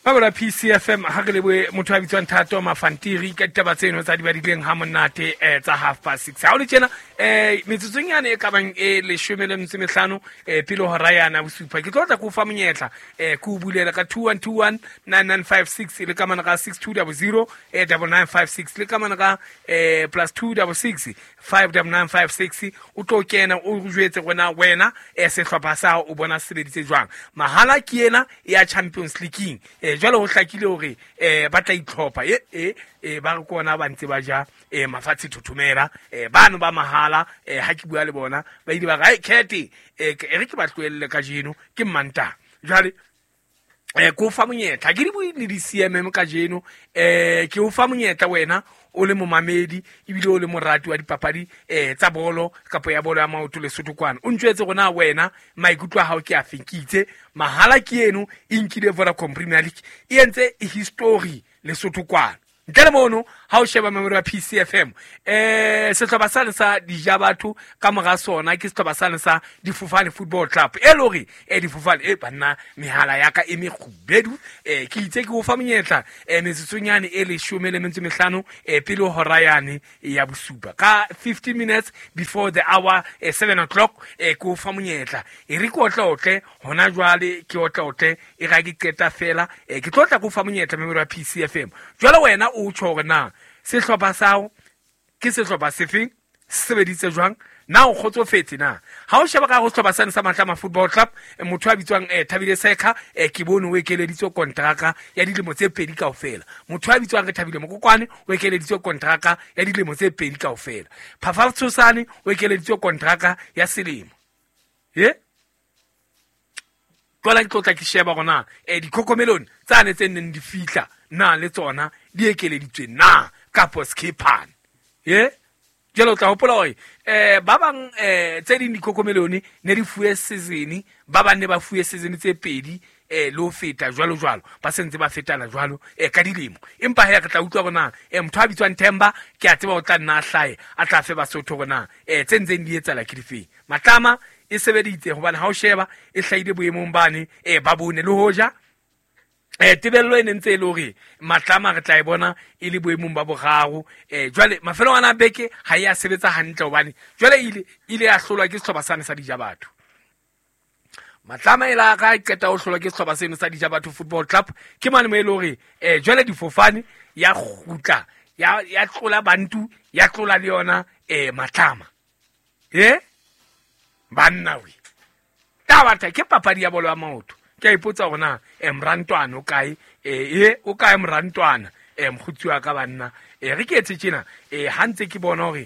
Mabola PCFM ha re lebohe motho a bitswang Thato Mafantiri ka ditaba tseno tsa di badileng ha monate tsa 6:30. Ha o le tjena metsotsong yane e ka bang e 15 pele hora yana bosupa ke tlo tla ke o fa monyetla ke o bulela ka 2121 9956 le ka mana ka 6200 9956 le ka mana ka plus 266 59956 o tlo kena o jwetse gona wena sehlopha sa hao o bona se sebeditse jwang. Mahala ke ena ya Champions League jwale ho hlakile hore ba tla itlhopha ba re kona ba ntse ba ja mafatshe thothomela bano ba mahala ha ke bua le bona ba ile ba re kete re ke ba tlohelle kajeno ke Mmantaha. Jwale ke o fa monyetla ke di bue le di-CMM kajeno ke o fa monyetla wena o le momamedi ebile o le morati wa dipapadi tsa bolo kapa ya bolo ya maoto Lesotho kwana o ntjwetse gona wena maikutlo a hao ke a feng. Ke itse mahala ke eno e nkile Vodacom Premier League e entse history Lesotho kwana. Ntle le mono ha o sheba memori ya PCFM sehlopha sane sa dija batho ka mora sona ke sehlopha sane sa Difofane Football Club e le hore Difofane banna mehala ya ka e mekgubedu ke itse ke o fa monyetla metsotsonyane e 15 pele hora yane ya bosupa ka 15 minutes before the hour 7 o'clock ke o fa monyetla e re ke otleotle hona jwale ke otleotle e ga ke qeta fela ke tlo tla go fa monyetla memori ya PCFM. Jwale wena o tjho hore na sehlopha sa hao ke sehlopha sefeng, se sebeditse jwang, na o kgotsofetse na. Ha o sheba ka go sehlopha sane sa Matlama Football Club motho a bitswang Thabile Sekha ke bone o ekeleditswe kontraka ya dilemo tse 2 kaofela. Motho a bitswang re Thabile Mokokwane o ekeleditswe kontraka ya dilemo tse 2 kaofela. Phafa Tshosane o ekeleditswe kontraka ya selemo. Jwale ke tlotla ke sheba gona dikhokomelone tsane tse neng di fihla na le tsona di ekeleditswe na kapo skipan. Jwale o tla hopola hore ba bang tse ding dikhokomelone ne di fuwe season, ba bang ne ba fuwe season tse 2 le ho feta jwalo jwalo, ba sentse ba fetana jwalo ka dilemo. Empa he re tla utlwa hore na motho a bitswang Themba ke a tseba o tla nna a hlahe a tla fe Basotho hore na tse ntseng di etsahala ke difeng. Matlama e sebeditse hobane ha o sheba e hlahile boemong bane ba bone le hoja tebello e ne ntse e le hore Matlama re tla e bona e le boemong ba boraro. Jwale mafelong ana a beke ha e a sebetsa hantle hobane jwale ile ya hlolwa ke sehlopha sane sa dija batho. Matlama e la ka qeta ho hlolwa ke sehlopha seno sa dija batho Football Club ke mane mo e le hore jwale difofane ya kgutla ya tlola Bantu ya tlola le yona Matlama. Banna we taba ke papadi ya bolo ya maoto. Ke a ipotsa hore na morantwana o kae, o kae morantwana mokgotsi wa ka banna. Re ke etse tjena ha ntse ke bona hore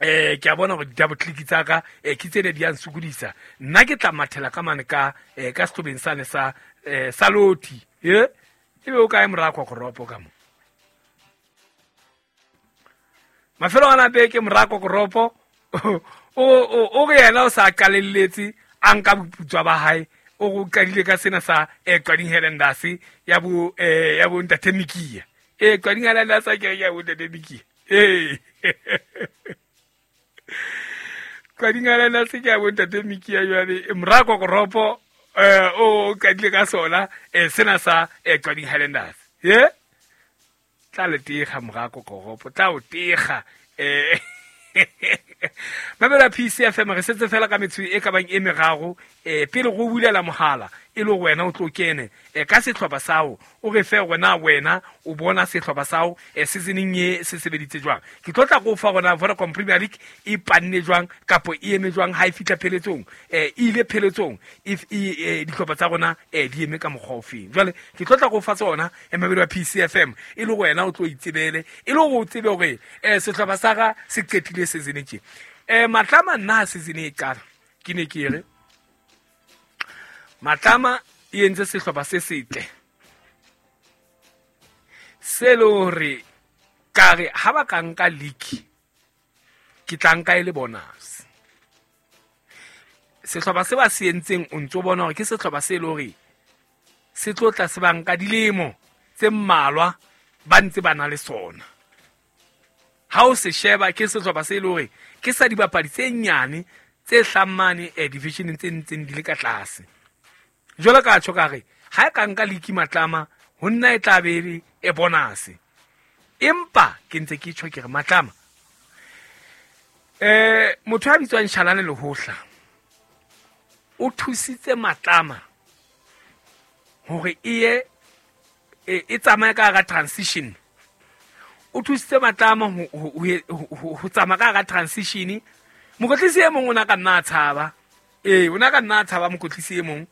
ke a bona hore di-double click tsa ka ke tsene di a nsokodisa. Nna ke tla mathela ka mane ka ka sehlobeng sane sa sa loti. Ebe o kae mora Kokoropo ka mo? Mafelo ana beke mora Kokoropo o re yena o sa qalelletse a nka boputswa ba hae o go qadile ka sena sa Qading Highlanders ya bo ya bo Ntate Mikia. Qading Highlanders a ke ya bo Ntate Mikia. Qading Highlanders ke ya bo Ntate Mikia jwale mora Kokoropo o qadile ka sona sena sa Qading Highlanders. Tla le tega mora Kokoropo tla o tega Mamela PCFM re setse fela ka metso e ka bang e meraro pele go bulela mohala e le wena o tlo kene ka sehlopha sao o re fe gona wena o bona sehlopha sao seasoneng e se sebeditse jwang. Ke tlo tla go fa gona Vodacom Premier League e panne jwang kapo e eme jwang ha e fihla pheletsong e ile pheletsong if dihlopha tsa rona di eme ka mokgwa ofeng. Jwale ke tlo tla go fa tsona mamedi wa PCFM e le wena o tlo itsebele e le go tsebe hore sehlopha sa ga se qetile season tje. Matlama nna season e qala ke ne ke re Matlama e entse sehlopha se setle se le hore ka re ha ba ka nka league ke tla nka e le bonus. Sehlopha se ba se entseng o ntso bona hore ke sehlopha se le hore se tlo tla se ba nka dilemo tse mmalwa ba ntse ba na le sona. Ha o se sheba ke sehlopha se le hore ke sa dibapadi tse nyane tse hlammane divisioneng tse ntseng di le ka tlase. Jwalo ka tjho ka re Ha e ka nka league Matlama ho nna e tla be e bonus. Empa ke ntse ke tjho ke re Matlama motho a bitswang Shalane Lehohla o thusitse Matlama hore e e tsamaye ka hara transition. O thusitse Matlama ho tsamaya ka hara transition. Mokwetlisi e mong o na ka nna a tshaba. O na ka nna a tshaba mokwetlisi e mong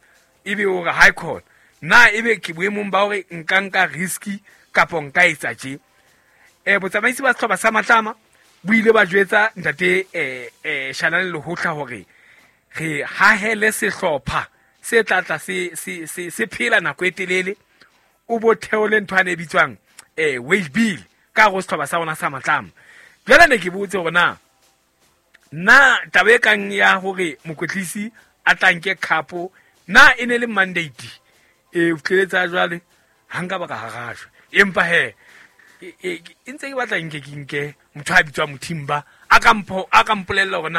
ebe o re high court. Na ebe ke boemong ba hore nka nka risk kapo nka etsa tje. Botsamaisi ba sehlopha sa Matlama bo ile ba jwetsa ntate Shalane Lehohla hore re hahele sehlopha se tla tla se phela nako e telele, o bo theole ntho ane e bitswang wage bill ka hare ho sehlopha sa rona sa Matlama. Jwale ne ke botse hore na taba e kang ya hore mokwetlisi a tla nke khapo na e ne le mandate o tleletsa jwale ha nka ba ka harajwa. Empa he e ntse ke batla nke ke nke motho a bitswang Mothimba a ka mpolella hore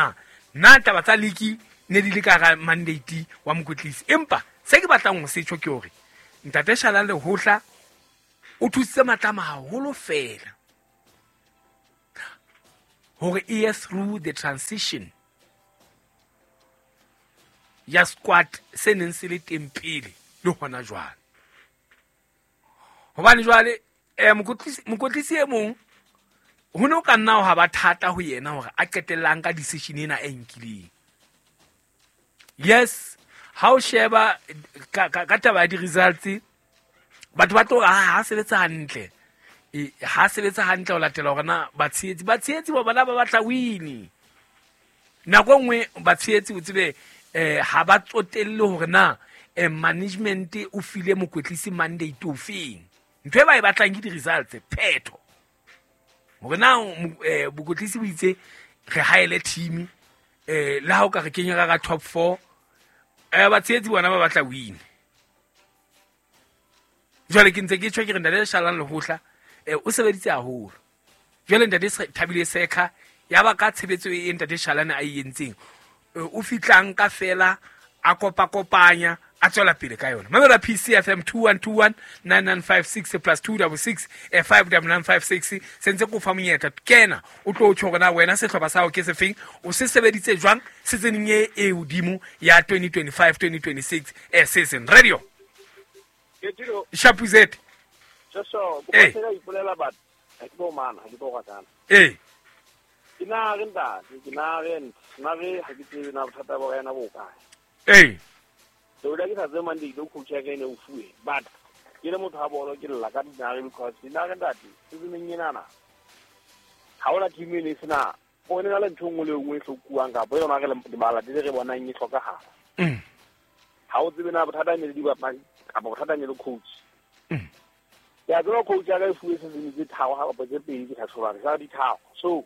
na taba tsa league ne di le ka hara mandate wa mokwetlisi. Empa se ke batlang ho se tjho ke hore ntate Shalane Lehohla o thusitse Matlama haholo fela hore e ye through the transition ya squad se neng se le teng pele le hona jwale. Hobane jwale mokwetlisi e mong ho ne ho ka nna ha ba thata ho yena hore a qetellang ka decision ena e nkileng. Yes, ha o sheba ka taba ya di-results, batho ba tlo ha sebetsa hantle. Ha sebetsa hantle ho latela hore na batshehetsi ba bona ba batla win. Nako e nngwe batshehetsi o tsebe ha ba tsotelle hore na management o file mokwetlisi mandate o feng. Ntho e ba e batlang ke di-results, phetho. Hore na mokwetlisi o itse re haele team le ha o ka re kenya ka top 4, batshehetsi bona ba batla win. Jwale ke ntse ke tjho ke re ntate Shalane Lehohla o sebeditse haholo. Jwale ntate Thabile Sekha ya ba ka tshebetso e ntate Shalane a e entseng, o fitlang ka fela a kopakopanya a tswela pele ka yona. Mamela PCFM 2121 9956 plus 266 59956 sentse ko fa monyetla kena o tlo tjho hore na wena sehlopha sa hao ke sefeng, o se sebeditse jwang season e hodimo ya 2025-2026 season. Radio Shapuzet so ko tsela ipolela batho ha ke bo mana ha ke bo ratana. Ke na re ntate ke na re na re ha ke tsebe na bothata ba yena bo kae. So le ke sa tsebe mandate o coach ya ka ene o fuwe but ke le motho ha bolo ke lla ka dinare because dinare ntate season ena na ha ona team e sena o ne na le ntho nngwe le nngwe e hlokuwang kapa yona re le bala di re bonang e hlokahala. Ha o tsebe na bothata ne le dibapadi kapa bothata ne le coach. Ya tseba coach ya ka e fuwe season tse tharo ha kapa tse pedi ke sa tshoba sa di tharo. So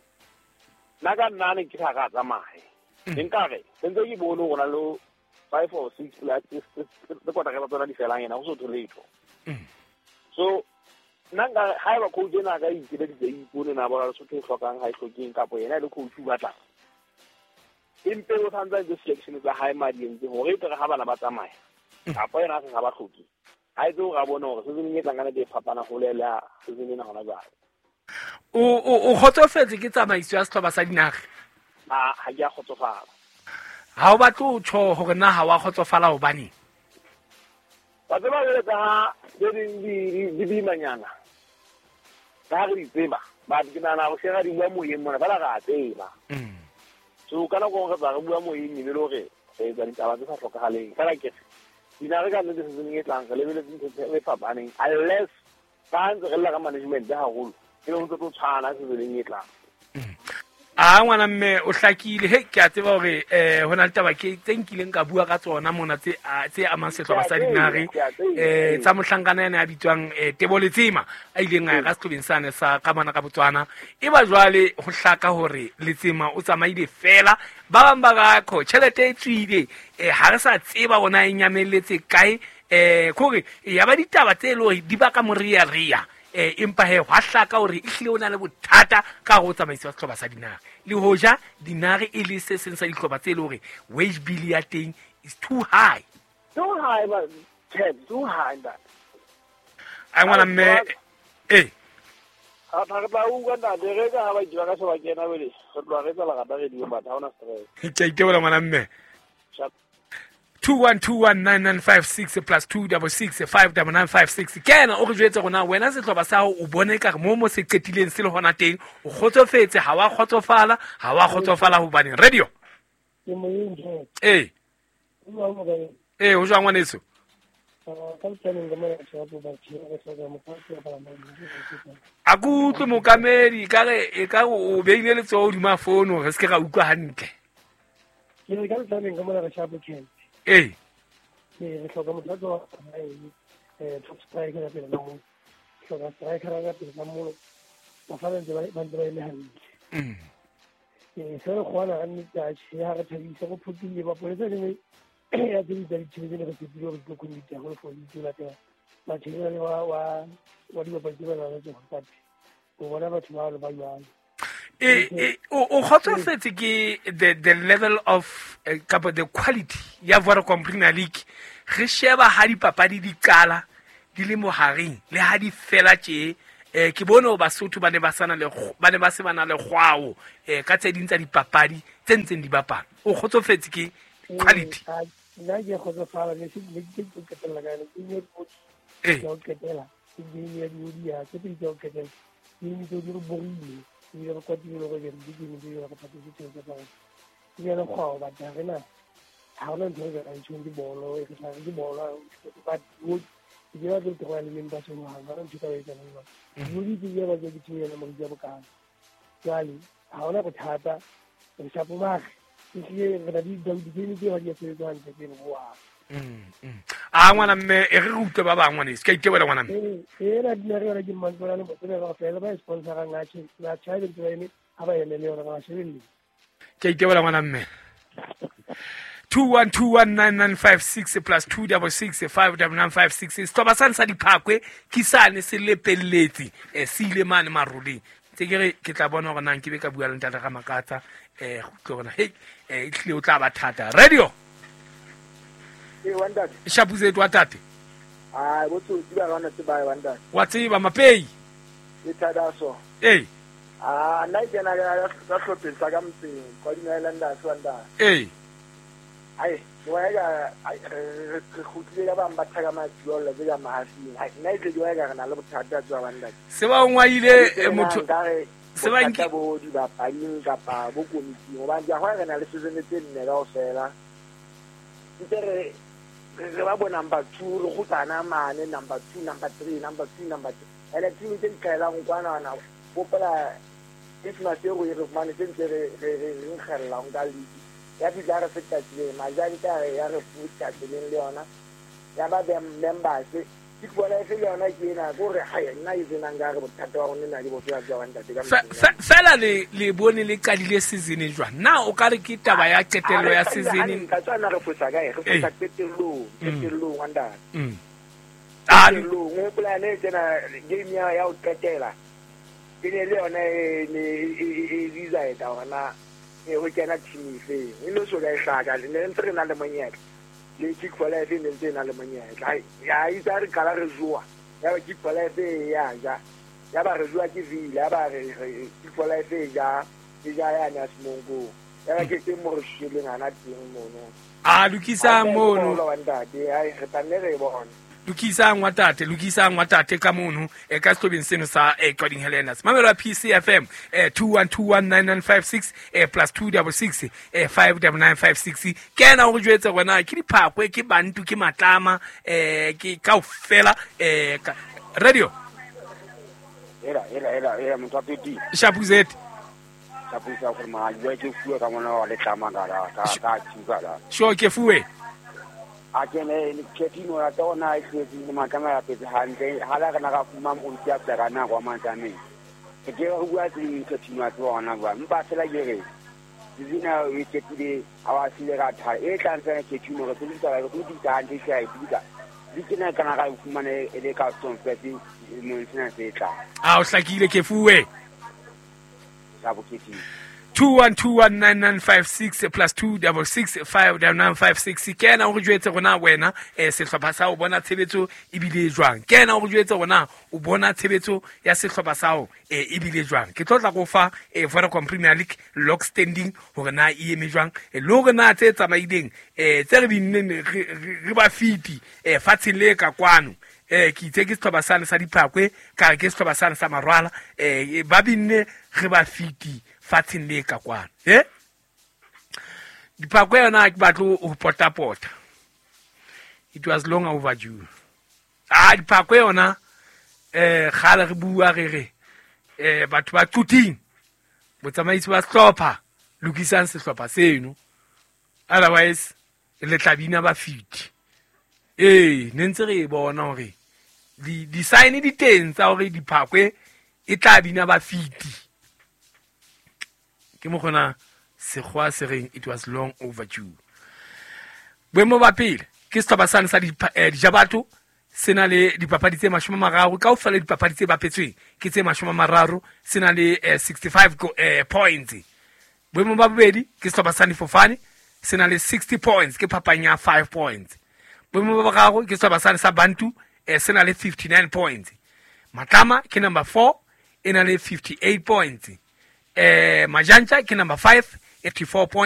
nna ka nna ne ke sa ka tsamaye. Nkare sentse ke bone hore na le 5 or 6 players tse kota ka tsona di felang yena ho so letho. So nna nka ha eba coach ena ka ikeleditse ipone na bona Lesotho e hlokang ha e hlokeng kapa yena le coach o batlang. Empe o tshwanetse a selection tsa hae madi entse hore e tle ha bana ba tsamaya kapa yena a sa ba hloke. Ha etse hore a bone hore season e tlang ka nete e fapana hole le ya season ena hona jwale. O kgotsofetse ke tsamaiso ya sehlopha sa Dinare? Ha ke a kgotsofala. Ha o batle ho tjho hore na ha wa kgotsofala hobaneng? Ba tseba jwale ka ha tse ding di boimanyana. Ka ha re di tseba, but ke nahana ho shera di bua moyeng mona, fela re a tseba. So ka nako re tla re bua moyeng ebe le hore re etsa ditaba tse sa hlokahaleng. Fela ke re dinare ka nnete season e tlang re lebeletse ntho tse fapaneng unless ka ntse re lla ka management haholo e le ho ntse tlo tshwana season e tlang. A ngwana mme o hlakile he ke a tseba hore ho na le taba ke tse nkileng ka bua ka tsona mona tse amang sehlopha sa Dinare tsa mohlankana ena ya bitswang Tebo Letsema a ileng a ya ka sehlobeng sane sa ka mona ka Botswana. E ba jwale ho hlaka hore Letsema o tsamaile fela, ba bang ba ra kho tjhelete e tswile ha re sa tseba hore na e nyamelletse kae. Kore ya ba ditaba tse le hore di baka morearea. Empa he hwa hlaka hore ehlile o na le bothata ka ho tsamaisa sehlopha sa Dinare. Le hoja Dinare e le se seng sa dihlopha tse le hore wage bill ya teng is too high. Too high, but 10 too high ntate. A ngwana mme e a tla tla utlwa ntate re ka ha ba itse ba ka se ba kena wele re tloha re tsela rata re diwe batho ha ona stress. Ke a itebola ngwana mme. 21219956 plus 266 59956. Ke ena o re jwetse rona wena sehlopha sa hao o bone ka re mo se qetileng se le hona teng o kgotsofetse ha wa kgotsofala ha wa kgotsofala hobane radio ke moyeng je eh o jwang ngwaneso? A ke utlwe mokamedi ka re e ka o beile letsoho hodima fono re se ke ra utlwa hantle. Ke re ka letsaneng ka mona re shapo camp. Ee. Re hloka motho a tswa top striker ka pele ka moo. Hloka striker ka pele ka moo. Bafana ntse ba ntse ba eme hantle. Se re kgona ka nnete atjhe ha re thabisa go phutile mapolesa le ya tse di tsa ditšhebe tse ne re tshepile gore di tlo committee haholo for di latela material wa dibapadi tse ba nang le tsona but o bona batho ba ba jwalo. O kgotsofetse ke the level of kapa the quality ya Vodacom Premier League. Re sheba ha dipapadi di qala di le mohareng le ha di fela tje. Ke bone ho Basotho ba ne ba sana le ba ne ba se ba na le kgwao ka tse ding tsa dipapadi tse ntseng di bapala. O kgotsofetse ke quality? Nna ke kgotsofala ne se ke ke qetella ka yona ke ne ke o qetela ke game ya di ya tse pedi tsa ho qetela game tseo di re borile ebile re kwatile le gore di game tseo re patetse tjhelete tsa rona ke yona kgwao but ha rena ha hona ntho e ka ntshong ke bolo e re tla ke bolo but ke ba ke tloga le members ho hang ha ntho ka etsa jwang di ke ba ke team ya moriti ya bokana jwale ha hona bothata re shapo mare ehlile re na le di-game tse ba di sebetsa hantle tse boa. A ngwana mme e re utlwe ba bang ngwaneso ke a itebola ngwana mme. E na dina re yona ke mmantswana le motsebe kaofela ba e sponsorang atjhe ba tjhabe ntse ba eme ha ba emele yona ba shebelle. Ke a itebola ngwana mme. 21219956 plus 266 59956. Sehlopha sane sa Diphakwe ke sane se lepelletse se ile mane maroleng. Tse ke re ke tla bona hore na nke be ka bua le ntate Ramakatsa go utlwe hore hei e tlile o tla ba thata. Radio wa ntate. Shapuzethu wa tate. Ah, botsotsi ba rona tseba wa ntate. Wa tseba mapei. E thata so. Eh. Ah, nna ke na ka hlopheng sa ka motseng kwa Highlanders wa ntate. Eh. Ai, wa ya re kgutlile ka bang ba thaka matswalo tse ka mahafing. Ai, nna ke wa ya re na le bothata tswa wa ntate. Se ba ngwaile motho se ba nka bo dibapading kapa bo komiting hobane ke a re na le season tse nne kaofela. Ntse re re ba bona number 2 re kgutlana mane number 2 number 3 number 2 number 3 ene team tse di qaelang kwana na popola Christmas e re fumane tse ntse re re nkgella nka league ya fihla re feta tseleng majadi ka ya re futa tseleng le yona ya ba members ke bona e le yona ke ena go re ha nna e tsenang ka re bothata wa rona na le bofela jwa ntate ka fela le bone le qadile season jwang na o ka re ke taba ya qetello ya season ka tswana re fosa kae re fosa qetellong wa ntate a qetellong o plan e tsena game ya ho qetela ke ne le yona e decide hore e ho kena team efe e no so ka e hlaka le ntse re na le monyetla le Kick for Life e ntse na le monyetla ya itse re qala re joa ya ba Kick for Life ya ja ya ba re joa ke Villa ya ba re Kick for Life e ja ya na Semongo ya ba ke teng mo re shileng ana teng mono a lokisa mono ntate ai re tla re bona lokisang wa tate ka mono e ka sehlobeng seno sa Qading Highlanders. Mamelo ya PCFM 21219956 plus 266 59956. Kena o re jwetse rona ke Diphakwe ke Bantu ke Matlama ke kaofela radio era motho a pedi Shapuzet Shapuza gore ma ke fuwe ka mona wa letlama ka ka tsuka la sure ke fuwe a ke ne ketino ya tona e tletse le matlama ya petse hantle ha la rena ka fuma mo ntse a ka nako wa matlameng ke ke go bua tse ketino ya tsona ba mpa fela ke re dizina e ketile a wa sile ka tha e tla ntse ketino re tsebisa re go ditsa hantle se a e buka di kena kana ka fumane e le ka stone fetse mo sena se tla a o hlakile ke fuwe sa boketino 21219956 plus 26659956. Ke ena o re jwetse rona wena sehlopha sa o bona tshebetso ebile jwang. Ke ena o re jwetse rona o bona tshebetso ya sehlopha sa o ebile jwang. Ke tlo tla go fa Vodacom Premier League log standing hore na e eme jwang, le hore na tse tsamaileng tse re binneng re ba fiti fatsheng le ka kwano. Ke itse ke sehlopha sane sa Diphakwe, ka re ke sehlopha sane sa Marwala, ba binne re ba fiti fatsheng le ka kwano. Diphakwe yona ke batle ho potapota. It was long overdue. Diphakwe yona kgale re bua re re batho ba Quthing, botsamaisi ba sehlopha, lokisang sehlopha seno, otherwise le tla bina ba fiti. Ne ntse re e bona hore di-sign di teng tsa hore Diphakwe e tla bina ba fiti. Ke mokgona sekgowa se reng it was long overdue. Boemo ba pele ke sehlopha sane sa Dijabato, se na le dipapadi tse 30, kaofela dipapadi tse bapetsweng ke tse 30, se na le 65 points. Boemo ba bobedi ke sehlopha sa Nifofane, se na le 60 points, ke phapang ya 5 points. Boemo ba boraro ke sehlopha sane sa Bantu, se na le 59 points. Matlama ke number 4, e na le 58 points. Majantja ke number 5, 84 points.